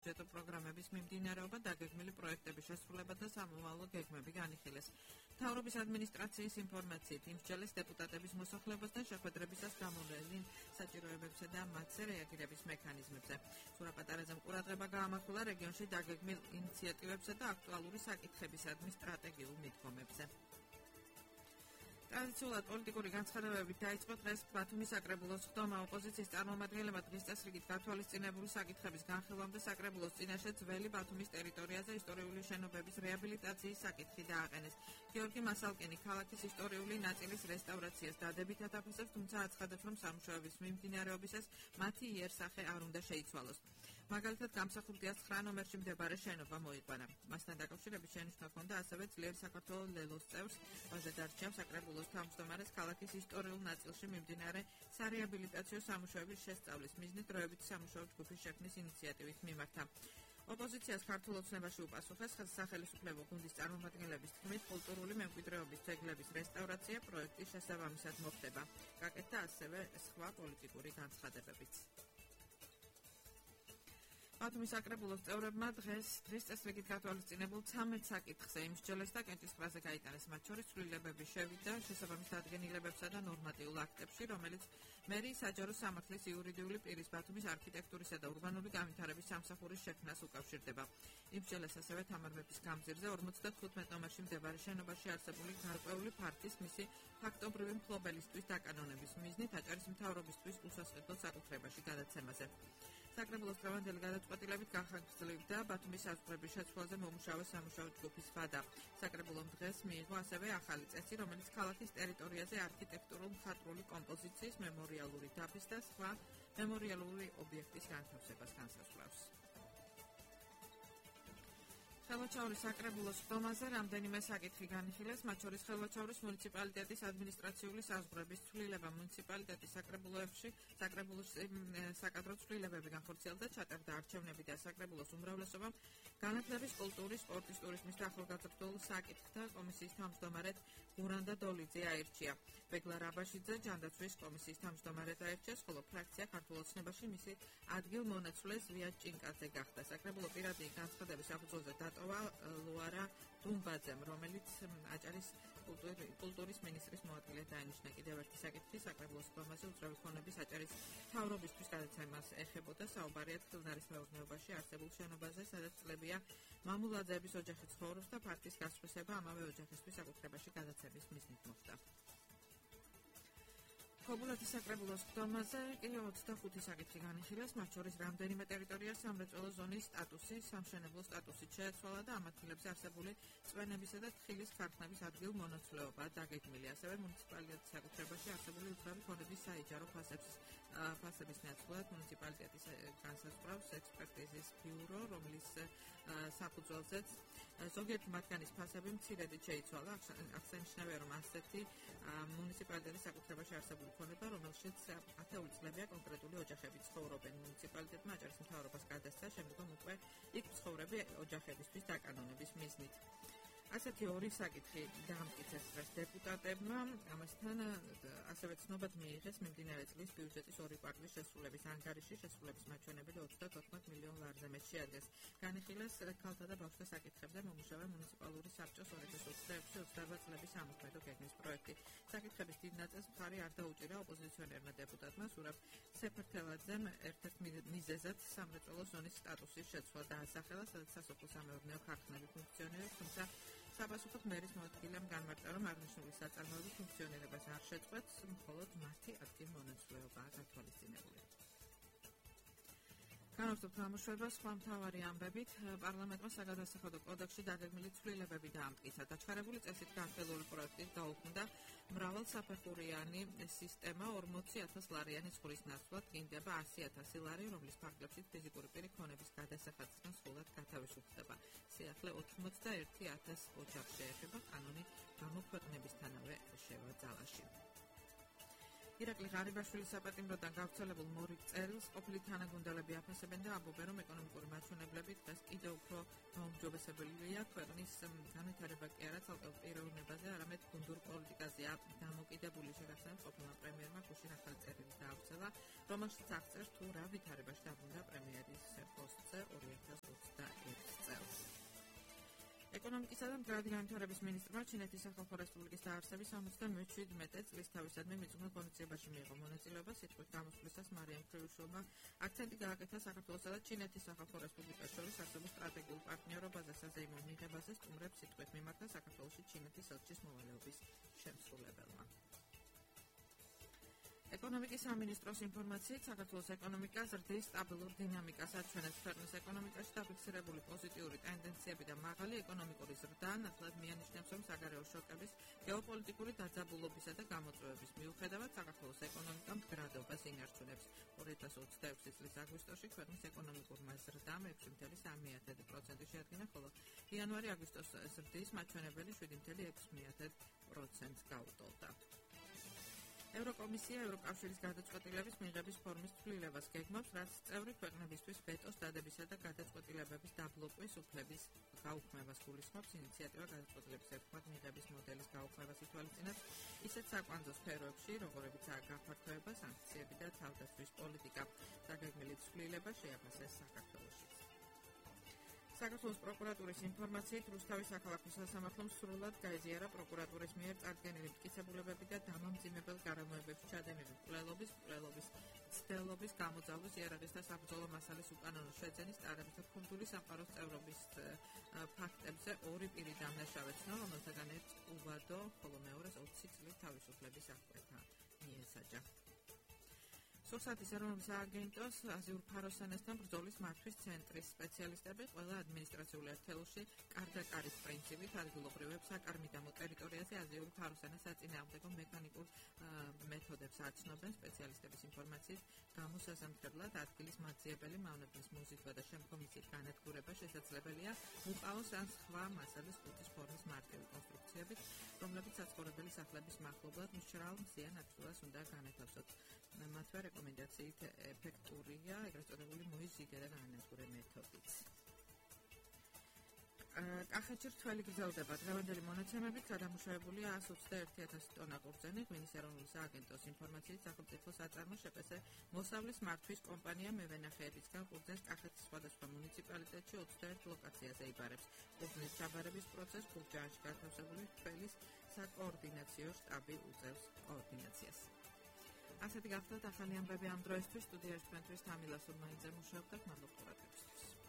ბიუჯეტო პროგრამების მიმდინარეობა, დაგეგმილი პროექტების შესრულება და სამოვალო გეგმები განიხილეს. მთავრობის ადმინისტრაციის ინფორმაციით, იმსჯელის დეპუტატების მოსახლებასთან შეხვედრებისას გამოვლენილ საჭიროებებსა და მათზე რეაგირების მექანიზმებზე. სურაპატარაძემ ყურადღება გაამახვილა რეგიონში დაგეგმილ ინიციატივებსა და აქტუალური საკითხებისადმი სტრატეგიულ მიდგომებზე. ტრადიციულად პოლიტიკური განცხადებებით დაიწყო დღეს ბათუმის საკრებულოს ხდომა. ოპოზიციის წარმომადგენლებმა დღის წესრიგით გათვალისწინებული საკითხების განხილვამ და საკრებულოს წინაშე ძველი ბათუმის ტერიტორიაზე ისტორიული შენობების რეაბილიტაციის საკითხი დააყენეს. გიორგი მასალკინი ქალაქის ისტორიული ნაწილის რესტავრაციას დადებითად აფასებს, თუმცა აცხადებს, რომ სამუშაოების მიმდინარეობისას მათი იერსახე არ უნდა შეიცვალოს. მაგალითად, გამსახურდიას 9 ნომერში მდებარე შენობა მოიყვანა. მასთან დაკავშირებით შენიშვნა ჰქონდა ასევე ძლიერი საქართველოს ლელოს წევრს, ბაზე დარჩა საკრებულოს თავმჯდომარეს ქალაქის ისტორიულ ნაწილში მიმდინარე სარეაბილიტაციო სამუშაოების შესწავლის მიზნით დროებითი სამუშაო ჯგუფის შექმნის ინიციატივით მიმართა. ოპოზიციას ქართულ ოცნებაში უპასუხეს სახელმწიფო გუნდის წარმომადგენლების თქმით, კულტურული მემკვიდრეობის ძეგლების რესტავრაცია პროექტის შესაბამისად მოხდება. გაკეთდა ასევე სხვა პოლიტიკური განცხადებებიც. ბათუმის საკრებულოს წევრებმა დღის წესრიგით გათვალისწინებულ 13 საკითხზე იმსჯელეს და კენჭისყრაზე გაიტანეს, მათ შორის ცვლილებების შევიდა შესაბამის დადგენილებებსა და ნორმატიულ აქტებში, რომელიც მერიის საჯარო სამართლის იურიდიული პირის ბათუმის არქიტექტურისა და ურბანული განვითარების სამსახურის შექმნას უკავშირდება. იმსჯელეს ასევე თამარ მეფის გამზირზე 55 ნომერში მდებარე შენობაში არსებული გარკვეული ფართის მისი ფაქტობრივი მფლობელისთვის დაკანონების მიზნით აჭარის მთავრობისთვის უსასყიდლო საკუთრებაში გადაცემაზე. საკრებულოს დღევანდელი გადაწყვეტილებით განხორციელებდა ბათუმის საზღვრების შეცვლაზე მომუშავე სამუშაო ჯგუფის ვადა. საკრებულომ დღეს მიიღო ასევე ახალი წესი, რომელიც ქალაქის ტერიტორიაზე არქიტექტურულ მხატვრული კომპოზიციის, მემორიალური დაფის და სხვა მემორიალური ობიექტის განთავსებას განსაზღვრავს. ხელვაჩაურის საკრებულოს ხდომაზე რამდენიმე საკითხი განიხილეს, მათ შორის ხელვაჩაურის მუნიციპალიტეტის ადმინისტრაციული საზღვრების ცვლილება, მუნიციპალიტეტის საკრებულოებში საკადრო ცვლილებები განხორციელდა, ჩატარდა არჩევნები და საკრებულოს უმრავლესობამ განათლების, კულტურის, სპორტის, ტურიზმის და ახალგაზრდულ საკითხთა კომისიის თავმჯდომარედ გურანდა დოლიძე აირჩია. ბეგლა რაბაშიძე ჯანდაცვის კომისიის თავმჯდომარედ აირჩიეს, ხოლო ფრაქცია ქართულ ოცნებაში მისი ადგილმონაცვლე ზვია ჭინკაძე გახდა. საკრებულო პირადი განცხადების საფუძველზე დატოვა ლუარა დუმბაძემ, რომელიც აჭარის კულტურის მინისტრის მოადგილედ დაინიშნა. კიდევ ერთი საკითხი საკრებულოს ხდომაზე უძრავი ქონების აჭარის მთავრობისთვის გადაცემას ეხებოდა. საუბარია თხილნარის მეურნეობაში არსებულ შენობაზე, სადაც წლებია მამულაძეების ოჯახი ცხოვრობს და ფაქტის გასხვისება ამავე ოჯახისთვის საკუთრებაში გადაცემის მიზნით მოხდა. ქობულეთის საკრებულოს ხდომაზე კი 25 საკითხი განიხილეს, მათ შორის რამდენიმე ტერიტორიას სამრეწველო ზონის სტატუსი, სამშენებლო სტატუსით შეეცვალა და ამ ადგილებზე არსებული წვენებისა და თხილის ქარხნების ადგილმონაცვლეობა დაგეგმილი. ასევე მუნიციპალიტეტის საკუთრებაში არსებული უძრავი ქონების საიჯარო ფასების ნაცვლად მუნიციპალიტეტის განსაზღვრავს ექსპერტიზის ბიურო, რომლის საფუძველზეც ზოგიერთი მათგანის ფასები მცირედით შეიცვალა. აღსანიშნავია, რომ ასეთი მუნიციპალიტეტის საკუთრებაში არსებული ქონება, რომელშიც ათეული წლებია კონკრეტული ოჯახები ცხოვრობენ. მუნიციპალიტეტმა აჭარის მთავრობას გადასცა, შემდგომ უკვე იქ მცხოვრები ოჯახებისთვის დაკანონების მიზნით. ასეთი ორი საკითხი დაამტკიცეს დღეს დეპუტატებმა, ამასთან ასევე ცნობად მიიღეს მიმდინარე წლის ბიუჯეტის ორი კვარტლის შესრულების ანგარიში, შესრულების მაჩვენებელი 34 მილიონ ლარზე მეტ შეადგენს. განიხილეს ქალთა და ბავშვთა საკითხებზე მომუშავე მუნიციპალური საბჭოს 2023-24 წლების სამოქმედო გეგმის პროექტი. საკითხების დიდ ნაწილს მხარი არ დაუჭირა ოპოზიციონერმა დეპუტატმა სურაბ სეფერთელაძემ ერთ-ერთ მიზეზად სამრეწველო ზონის სტატუსის შეცვლა დაასახელა, სადაც სასოფლო-სამეურნეო ქარხნები ფუნქციონირებს, თუმცა საპასუხოდ მერის მოადგილემ განმარტა, რომ აღნიშნული საწარმოები ფუნქციონირებას არ შეწყვეტს, მხოლოდ მათი ადგილმონაცვლეობაა გათვალისწინებული. განვაცხადოთ გამოშვებას სხვა მთავარი ამბებით. პარლამენტმა საგადასახადო კოდექსში დაგეგმილი ცვლილებები დაამტკიცა. დაჩქარებული წესით განხილული პროექტით გაუქმდა მრავალსაფეხურიანი სისტემა 40,000 ლარიანი ზღვის ნაცვლად გინდება 100,000 ლარი, რომლის ფარგლებში ფიზიკური პირი ქონების გადასახადისგან სრულად გათავისუფლდება. სიახლე 81,000 ოჯახს შეეხება, კანონი გამოქვეყნებისთანავე შევა ძალაში. ირაკლი ღარიბაშვილის საპატიმროდან გავრცელებულ მორიგ წერილს ყოფილი თანაგუნდელები აფასებენ და ამბობენ, რომ ეკონომიკური მაჩვენებლები დღეს კიდევ უფრო გაუმჯობესებელია ქვეყნის განვითარება კი არა ცალკეულ პიროვნებაზე, არამედ გუნდურ პოლიტიკაზეა დამოკიდებული. შეგახსენებთ, ყოფილმა პრემიერმა გუშინ ახალი წერილი დაავრცელა, რომელშიც აღწერს თუ რა ვითარებაში დაბრუნდა პრემიერის პოსტზე 2021 წელს. ეკონომიკისა და მდგრადი განვითარების მინისტრმა ჩინეთის სახალხო რესპუბლიკის დაარსების 77 წლის თავისადმი მიწუხნელ ღონისძიებაში მიიღო მონაწილეობა. სიტყვით გამოსვლისას მარიამ ფრიუშოვმა აქცენტი გააკეთა საქართველოსა და ჩინეთის სახალხო რესპუბლიკას შორის არსებულ სტრატეგიულ პარტნიორობაზე, საზეიმო მიღებაზე, სტუმრებს სიტყვით მიმართა საქართველოში ჩინეთის ელჩის მოვალეობის შემსრულებელმა. ეკონომიკის სამინისტროს ინფორმაციით, საქართველოს ეკონომიკა ზრდის სტაბილურ დინამიკას აჩვენებს. ქვეყნის ეკონომიკაში დაფიქსირებული პოზიტიური ტენდენციები და მაღალი ეკონომიკური ზრდა ნათლად მიანიშნებს, რომ საგარეო შოკების, გეოპოლიტიკური დაძაბულობისა და გამოწვევების მიუხედავად საქართველოს ეკონომიკა მდგრადობას ინარჩუნებს. 2026 წლის აგვისტოში ქვეყნის ეკონომიკურმა ზრდამ 6.3% შეადგინა, ხოლო იანვარი-აგვისტოს ზრდის მაჩვენებელი 7.6% გაუტოლდა. ევროკომისია ევროკავშირის გადაწყვეტილების მიღების ფორმის ცვლილებას გეგმავს, რაც წევრი ქვეყნებისთვის ვეტოს დადებისა და გადაწყვეტილებების დაბლოკვის უფლების გაუქმებას გულისხმობს. ინიციატივა გადაწყვეტილების ერთხმად მიღების მოდელის გაუქმებას ითვალისწინებს, ისეთ საკვანძო სფეროებში, როგორებიცაა გაფართოება, სანქციები და თავდაცვის პოლიტიკა. დაგეგმილი ცვლილება შეაფასეს საქართველოშიც. საქართველოს პროკურატურის ინფორმაციით, რუსთავის საქალაქო სასამართლომ სრულად გაეზიარა პროკურატურის მიერ წარდგენილი მტკიცებულებები და დამამძიმებელ გარემოებებში ჩადენილი მკვლელობის ცდელობის, გამოძალვის, იარაღის და საბრძოლო მასალის უკანონო შეძენის, ტარების და ფუნდური სამყაროს წევრობის ფაქტებზე ორი პირი დამნაშავე ცნო, რომელთაგან ერთს უბადო, ხოლო მეორეს 20 წლით თავისუფლების აღკვეთა მიესაჯა. სურსათის ეროვნული სააგენტოს აზიურ ფაროსანესთან ბრძოლის მართვის ცენტრის სპეციალისტები ყველა ადმინისტრაციული ერთეულში კარგაკარის პრინციპით ადგილობრივებს საკარმიდამო ტერიტორიაზე აზიურ ფაროსანას საწინააღმდეგო მექანიკურ მეთოდებს აცნობენ. სპეციალისტების ინფორმაციით, გამოსაზამთრებლად ადგილის მაძიებელი მავნებლის მოზიდვა და შემდგომიცით განადგურება შესაძლებელია უყაოს ან სხვა მასალის ყუთის ფორმის მარტივი კონსტრუქციებით, რომლებიც საცხოვრებელი სახლების მახლობლად მშრალ მზიან ადგილას უნდა განათავსოთ. მათვე რეკომენდაციით ეფექტურია ეგრეთ წოდებული მოიზიდე და განადგურე მეთოდიც. კახეთში რთველი გრძელდება. დღევანდელი მონაცემებით გადამუშავებულია 121,000 ტონა ყურძენი. ღვინის ეროვნული სააგენტოს ინფორმაციით, სახელმწიფო საწარმო შპს მოსავლის მართვის კომპანია მევენახეებისგან ყურძენს კახეთის სხვადასხვა მუნიციპალიტეტში 21 ლოკაციაზე იბარებს. ყურძნის ჩაბარების პროცესს გურჯაანში განთავსებული რთველის საკოორდინაციო შტაბი უწევს კოორდინაციას. ასეთი გახლდათ ახალი ამბები ამ დროისთვის. სტუდიაში თქვენთვის თამილა სურმაიძე მუშაობდა. მადლობთ ყურადღებისთვის.